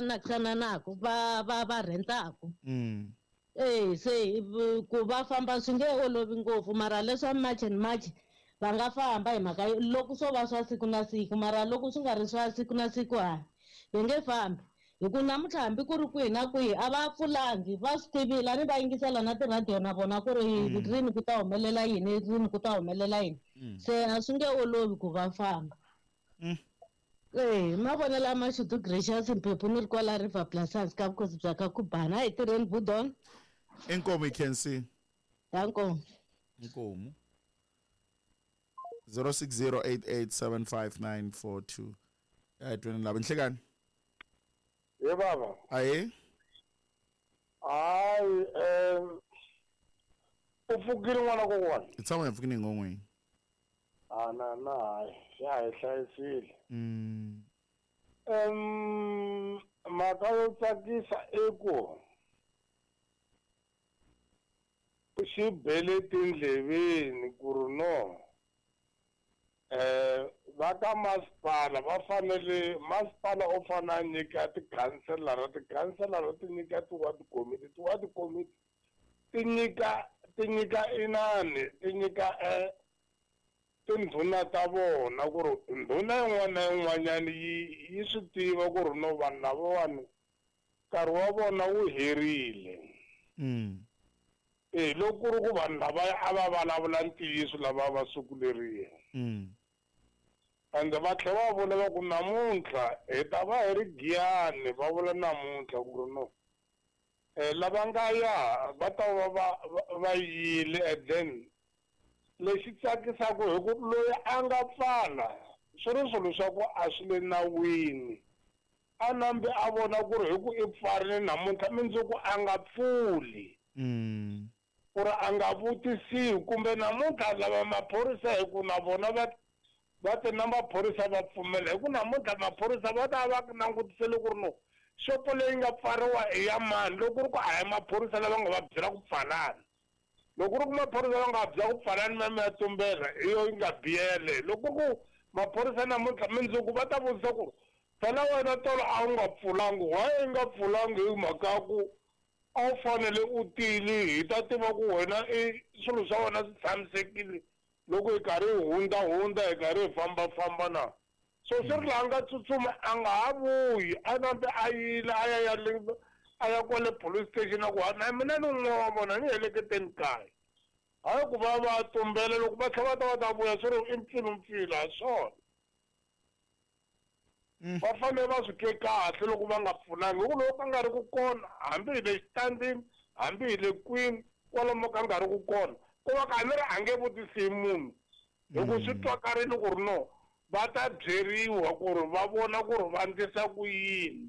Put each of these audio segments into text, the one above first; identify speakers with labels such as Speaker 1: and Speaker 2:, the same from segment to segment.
Speaker 1: nakisananaku va va va rhentaku. E se ku va famba swi nge olovi ngopfu, mara leswa March and March va nga famba hi mhaka loko swo va swa siku na siku, mara loko swi nga ri swa siku na siku hayi va nge fambi. Hi ku namuntlha hambi ku ri kwihi na kwihi a va pfulangi, va swi tivile a ni va yingisela na tirhadiyo na vona ku ri rini ku ta humelela yini, rini ku ta humelela yini. Se a swi nge olovi ku va famba. E mavonelo a Mashudu Gracious Mphephu ni ri kwala River Blasas ka vukosi bya ka Kubana. A hi tirheni budon.
Speaker 2: Inkomu hi.
Speaker 1: Danko.
Speaker 2: Inkomu. 0608875942. Ya tweni lava nhlekani.
Speaker 3: Ye baba.
Speaker 2: Aye.
Speaker 3: Hayi u pfukile n'wana kokwana.
Speaker 2: I tshama hi pfukile ngon'weni.
Speaker 3: A na na hayi ya hi hlayisile. Mhaka yo tsakisa i ku xi bele tindleveni ku ri no va ka masipala va fanele masipala u fanele a nyika tikhanselara, tikhanselara ti nyika ti-ward committee, ti-ward committee ti nyika ti nyika inani ti nyika tindhuna ta vona ku ri ndhuna yin'wana na yin'wanyana yi swi tiva ku ri no vanhu lavawani nkarhi wa vona wu herile. E loko ku ri ku vanhu lavaya a va vulavula ntiyiso lava va siku leriya. Ende va tlhela va vula va ku namuntlha hi ta va hi ri Giyani, va vula namuntlha ku ri no lava nga ya va ta va va va yile. And then lexi tsakisaka hi ku loyi a nga pfala swi ri swilo swa ku a swi le nawini, a nambe a vona ku ri hi ku i pfarile namuntlha mundzuku a nga pfuli. Ku ri a nga vutisiwi kumbe namuntlha lava maphorisa hi ku na vona va va te na maphorisa va pfumela hi ku namuntlha maphorisa va ta va langutisele ku ri no xopo leyi nga pfariwa i ya mani, loko ku ri ku a hi maphorisa lava nga va byela ku pfalani, loko ku ri ku maphorisa va nga byela ku pfalani mi ya tumbela hi yo yi nga biyele. Loko ku maphorisa namuntlha mundzuku va ta vutisa ku phela wena tolo a wu nga pfulangi, why i nga pfulangi hi mhaka ya ku a wu fanele u tile, hi ta tiva ku wena i swilo swa wena swi tshamisekile loko hi karhi hi hundza hundza hi karhi hi fambafamba na. So swi ri laha nga tsutsuma a nga ha vuyi, a nambe a yile a ya ya le a ya kwale police station a ku na mina ni un'we wa vona ni heleketeni kaya. Hayi ku va va tumbela loko va tlhela va ta va ta vuya swi ri i mpfilumpfilu ha swona. Va fanele va swi twe kahle loko va nga pfunangi, hi ku loko ka nga ri ku kona hambi hi le xitandini hambi hi le kwini kwalomu ka nga ri ku kona ku va ka ni ri a nge vutisi munhu hi ku swi twakarile ku ri no va ta byeriwa ku ri va vona ku ri va ndlisa ku yini,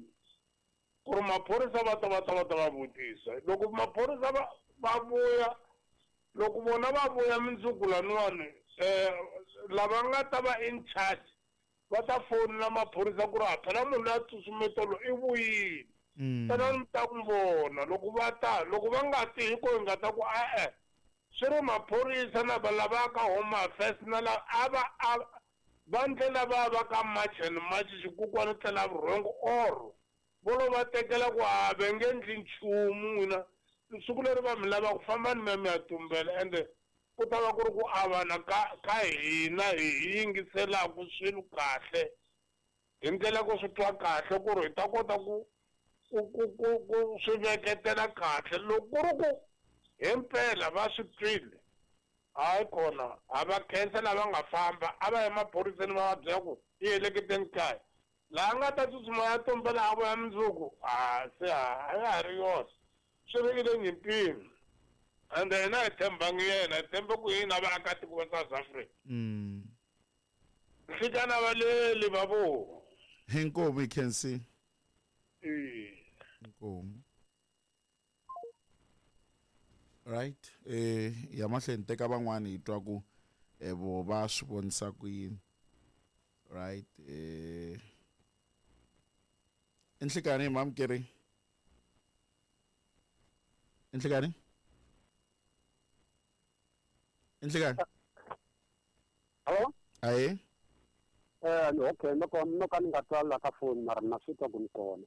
Speaker 3: ku ri maphorisa va ta va ta va ta va vutisa. Loko maphorisa va va vuya, loko vona va vuya mundzuku laniwani lava nga ta va in charge va ta fonela maphorisa ku ri a phela munhu loyi a tsutsumetolo i vuyile. Tana mi ta n'wi vona loko va ta, loko va nga ti hi ko hi nga ta ku e-e swi ri maphorisa na va lava ka Home Affairs na lava a va a va ndlela va va ka March and March xikukwana tlela vurhongo or vo lo va tekela ku a va nge endli nchumu n'wina siku leri va mi lava ku famba ni mi ya tumbela. Ende ku ta va ku ri ku avana ka ka hina hi yingiselaku swilo kahle hi ndlela ku swi twa kahle ku ri hi ta kota ku ku ku ku ku swi veketela kahle. Loko ku ri ku himpela va swi twile hayi kona a va khensa lava nga famba a va ya maphoriseni va va byela ku i heleketeni kaya, laha nga ta tsutsuma ya tumbela a vuya mundzuku a se a ya ha ri yona swi ri ile nyimpini. Ende hina hi tshembangi yena, hi tshembe ku yini a vaakatiko va South Africa. Nhlikana va leli va vo.
Speaker 2: Inkomu hi khensi. Inkomu. Right, ya mahlweni teka van'wani hi twa ku vo va swi vonisa ku yini. Right, inhlikani mamkeri. Inhlikani? Inhlikani?
Speaker 4: Hello?
Speaker 2: Aye.
Speaker 4: Okay, no ka ni nga twa la ka phone mara na swi twa ku ni kona.